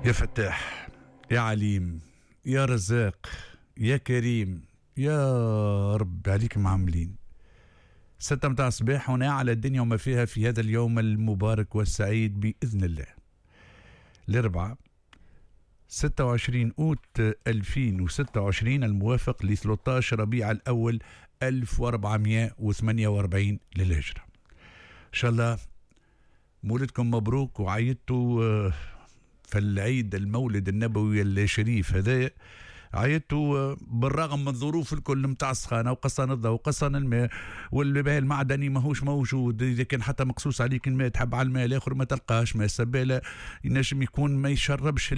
يا فتاح، يا عليم، يا رزاق، يا كريم، يا رب عليك معاملين. 6 متاع الصباح هنا على الدنيا وما فيها في هذا اليوم المبارك والسعيد بإذن الله. الأربعاء 26 أوت 2026 الموافق ل 13 ربيع الأول 1448 للهجرة. إن شاء الله مولدكم مبروك وعيدتوا في العيد المولد النبوي الشريف هذا، عيدتوا بالرغم من الظروف الكل نتاع السخانه وقصان الضوء وقصان الماء والماء المعدني ماهوش موجود، اذا كان حتى مقصوص عليك الماء تحب على الماء الاخر ما تلقاش ماء السباله، ينجم يكون ما يشربش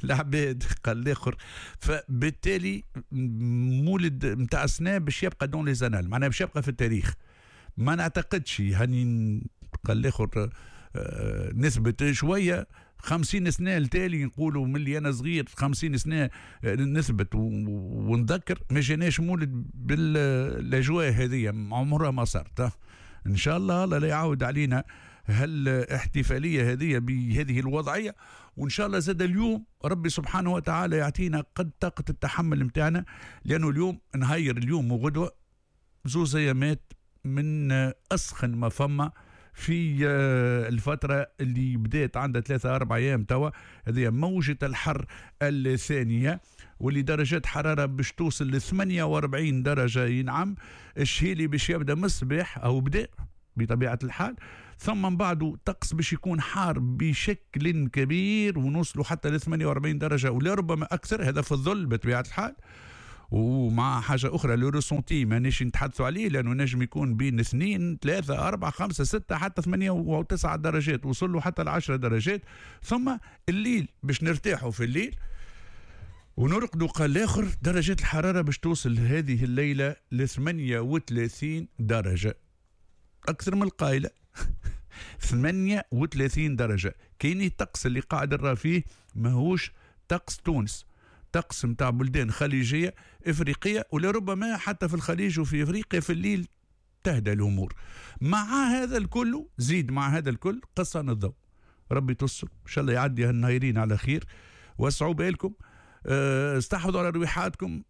العباد قال الاخر. فبالتالي مولد نتاع السنة باش يبقى dans les annales، معناها باش يبقى في التاريخ. ما نعتقدش هاني قال الاخر نثبت شوية 50 سنة التالي، نقولوا من اللي انا صغير 50 سنة نثبت ونذكر ما جاناش مولد بالاجواء هذه، عمرها ما صارت. ان شاء الله الله لا يعاود علينا هالاحتفاليه هذه بهذه الوضعية، وان شاء الله زاد اليوم ربي سبحانه وتعالى يعطينا قد طاقة التحمل نتاعنا، لانه اليوم نهير اليوم وغدوه زوز ايامات من اسخن ما فما في الفترة اللي بدات عندها 3-4 أيام توا. هذه موجة الحر الثانية واللي درجات حرارة باش توصل ل 48 درجة. ينعم الشيء اللي باش يبدا من الصباح أو بدا بطبيعة الحال، ثم من بعده طقس باش يكون حار بشكل كبير ونوصلوا حتى ل 48 درجة ولربما أكثر، هذا في الظل بطبيعة الحال. ومع حاجة أخرى le ressenti مانيش نتحدثوا عليه، لأنه نجم يكون بين 2 3 4 5 6 حتى 8 و9 درجات، وصلوا حتى 10 درجات. ثم الليل باش نرتاحوا في الليل ونرقدوا قال الآخر درجات الحرارة باش توصل هذه الليلة ل 38 درجة، أكثر من القايلة 38 درجة. كاين الطقس اللي قاعد نرى فيه ماهوش طقس تونس، طقس متاع بلدان خليجية إفريقية، ولربما حتى في الخليج وفي إفريقيا في الليل تهدى الأمور. مع هذا الكل زيد مع هذا الكل قصان الضوء، ربي تصل إن شاء الله يعدي هالنهيرين على خير. وسعوا بالكم، استحفظوا على رويحاتكم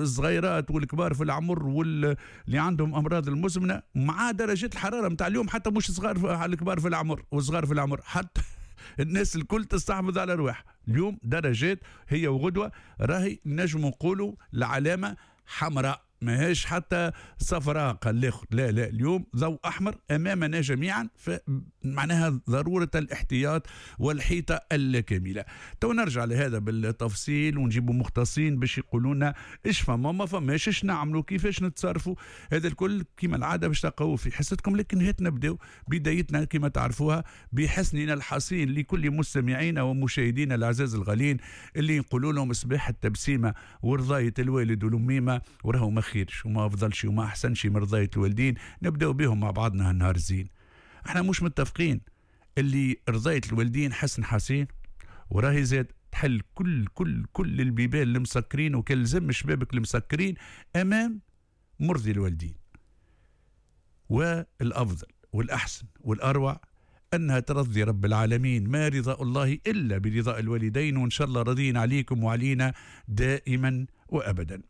الصغيرات والكبار في العمر واللي عندهم أمراض المزمنة. مع درجات الحرارة متاع اليوم حتى مش صغار الكبار في العمر والصغار في العمر، حتى الناس الكل تستحفظ على رواح. اليوم درجات هي وغدوة راهي نجم نقولوا العلامة حمراء، ماهيش حتى صفراء قال الاخر، لا لا، اليوم ضوء احمر امامنا جميعا، فمعناها ضرورة الاحتياط والحيطه الكاملة. تو نرجع لهذا بالتفصيل ونجيبوا مختصين باش يقولوا لنا ايش فما ما فماش، ايش نعملوا، كيفاش نتصرفوا. هذا الكل كما العادة باش تلقاوه في حصتكم. لكن هات نبداو بدايتنا كما تعرفوها بحسننا الحصين لكل مستمعينا ومشاهدينا الاعزاز الغاليين اللي نقولوا لهم صباح التبسيمه ورضايه الوالد والاميمه، وراهو ما خيرش وما افضلش وما احسنش من رضايه الوالدين. نبداو بهم مع بعضنا هالنهار الزين. احنا مش متفقين اللي رضايه الوالدين حسن حسين، وراهي زاد تحل كل كل كل البيبان المسكرين وكلزم شبابك المسكرين امام مرضي الوالدين. والافضل والاحسن والاروع انها ترضي رب العالمين، ما رضاء الله الا برضاء الوالدين، وان شاء الله راضين عليكم وعلينا دائما وابدا.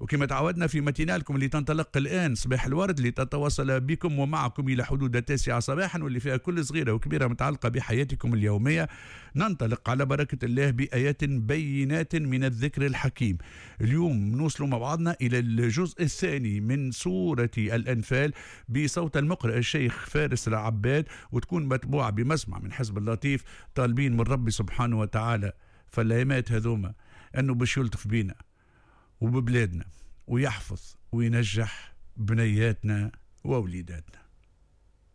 وكما تعودنا في ماتينالكم اللي تنطلق الآن صباح الورد، اللي تتواصل بكم ومعكم إلى حدود 9 صباحا، واللي فيها كل صغيرة وكبيرة متعلقة بحياتكم اليومية، ننطلق على بركة الله بآيات بينات من الذكر الحكيم. اليوم نوصل مع بعضنا إلى الجزء الثاني من سورة الأنفال بصوت المقرئ الشيخ فارس العباد، وتكون متبوعة بمسمع من حزب اللطيف، طالبين من ربي سبحانه وتعالى فالأيامات هذوما أنه باش يلطف بينا وببلادنا ويحفظ وينجح بنياتنا ووليداتنا.